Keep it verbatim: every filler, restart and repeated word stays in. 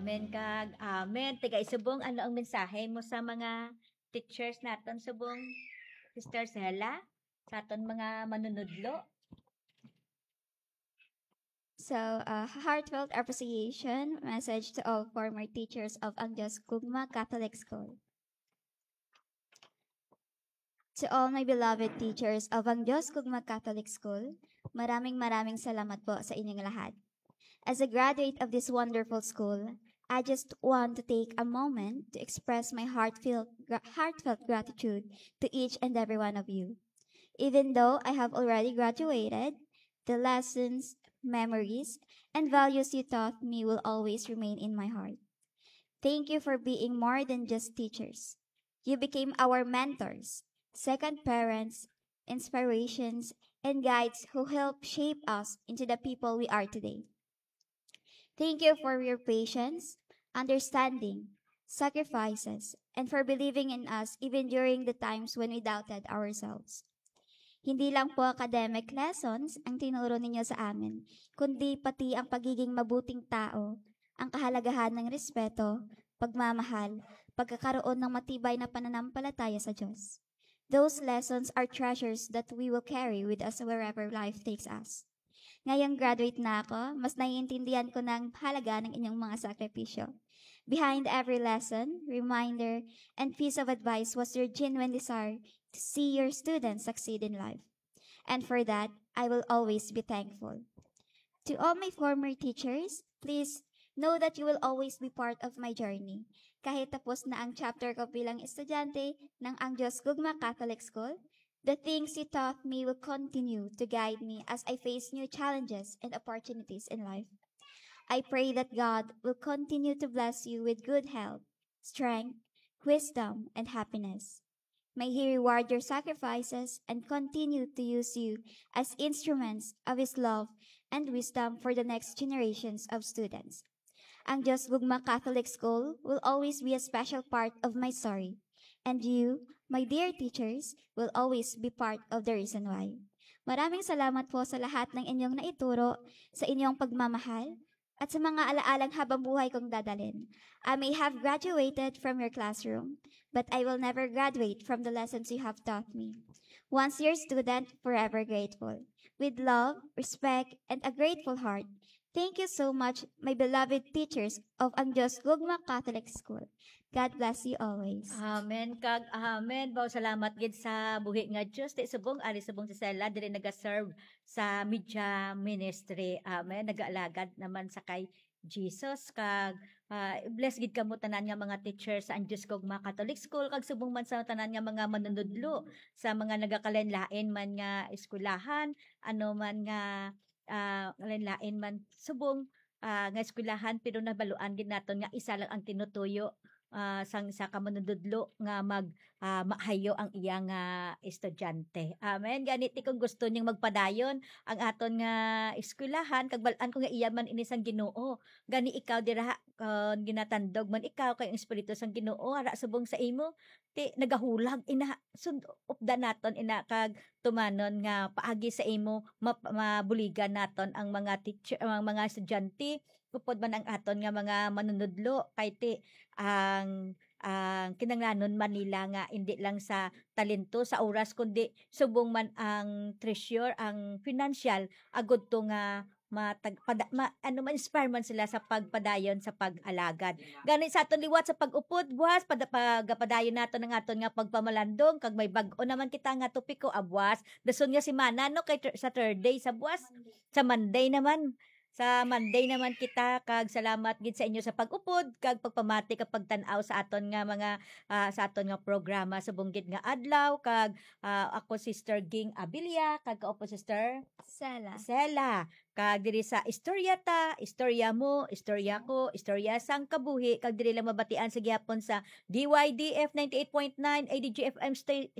Amen kag amen. Taga Isubong, ano ang mensahe mo sa mga teachers naton subong, Sister Sela, sa aton mga manunudlo? So, a heartfelt appreciation message to all former teachers of Ang Diyos Gugma Catholic School. To all my beloved teachers of Ang Diyos Gugma Catholic School, maraming maraming salamat po sa inyong lahat. As a graduate of this wonderful school, I just want to take a moment to express my heartfelt, gra- heartfelt gratitude to each and every one of you. Even though I have already graduated, the lessons, memories, and values you taught me will always remain in my heart. Thank you for being more than just teachers. You became our mentors, second parents, inspirations, and guides who help shape us into the people we are today. Thank you for your patience, understanding, sacrifices, and for believing in us even during the times when we doubted ourselves. Hindi lang po academic lessons ang tinuro ninyo sa amin, kundi pati ang pagiging mabuting tao, ang kahalagahan ng respeto, pagmamahal, pagkakaroon ng matibay na pananampalataya sa Diyos. Those lessons are treasures that we will carry with us wherever life takes us. Ngayong graduate na ako, mas naiintindihan ko na ang halaga ng inyong mga sakripisyo. Behind every lesson, reminder, and piece of advice was your genuine desire to see your students succeed in life. And for that, I will always be thankful. To all my former teachers, please know that you will always be part of my journey. Kahit tapos na ang chapter ko bilang estudyante ng Ang Diyos Gugma Catholic School, the things you taught me will continue to guide me as I face new challenges and opportunities in life. I pray that God will continue to bless you with good health, strength, wisdom, and happiness. May He reward your sacrifices and continue to use you as instruments of His love and wisdom for the next generations of students. Ang Diyos Gugma Catholic School will always be a special part of my story. And you, my dear teachers, will always be part of the reason why. Maraming salamat po sa lahat ng inyong naituro, sa inyong pagmamahal, at sa mga alaalang habang buhay kong dadalhin. I may have graduated from your classroom, but I will never graduate from the lessons you have taught me. Once your student, forever grateful. With love, respect, and a grateful heart, thank you so much, my beloved teachers of Ang Diyos Gugma Catholic School. God bless you always. Amen kag amen. Baw, salamat gid sa buhi nga Diyos. Ti subong, ari subong si Sela, diri nagaserve sa media ministry. Amen. Nagaalagad naman sa kay Jesus kag, ah, bless gid kamo tanan nga mga teacher sa Ang Diyos Gugma Catholic School kag subong man sa tanan nga mga manunudlo sa mga nagakalain-lain man nga eskwelahan, ano man nga, ah, lain-lain man subong, ah, nga eskwelahan, pero nabaluan gid naton nga isa lang ang tinutuyo, ah, sang isa ka manunudlo nga mag, ah, maayo ang iya nga estudyante. Amen. Gani ti kung gusto niyang magpadayon ang aton nga eskwelahan, kag bal-an ko nga iya man ini sang Ginoo. Gani ikaw dira, kon ginatandog man ikaw kay ang Espiritu sang Ginoo ara subong sa imo, ti nagahulag ina, sund-, updan naton ina kag tumanon nga paagi sa imo map-, mabuligan naton ang mga teacher, ang mga estudyante, upod man ang aton nga mga manunudlo, kay ti ang, ang kinahanglanon man nila nga indi lang sa talento, sa oras, kundi subong man ang treasure, ang financial, agud to nga matag-, pada-, ma-, ano, ma-inspire man sila sa pagpadayon sa pag-alagad. Gani sa aton liwat sa pag-upod, buwas, pada-, pagapadayon naton ang aton nga pagpamalandong, kag may bag-o naman kita nga topiko, ah, buwas. Dason nga semana, no, kay Thur-, sa Thursday, sa buwas, sa Monday naman. Sa Monday naman kita, kag salamat gid sa inyo sa pag-upod, kag pagpamati, kag pagtan-aw sa aton nga mga, ah, sa aton nga programa sa bunggit nga adlaw, kag, ah, ako, Sister Ging Abilia, kag kaupo, Sister Sela. Sela. Kag diri sa Istorya Ta, Istorya Mo, Istorya Ko, Istorya Sang Kabuhi, kag diri lang mabatian sa gihapon sa D Y D F ninety-eight point nine A D G F M sta-,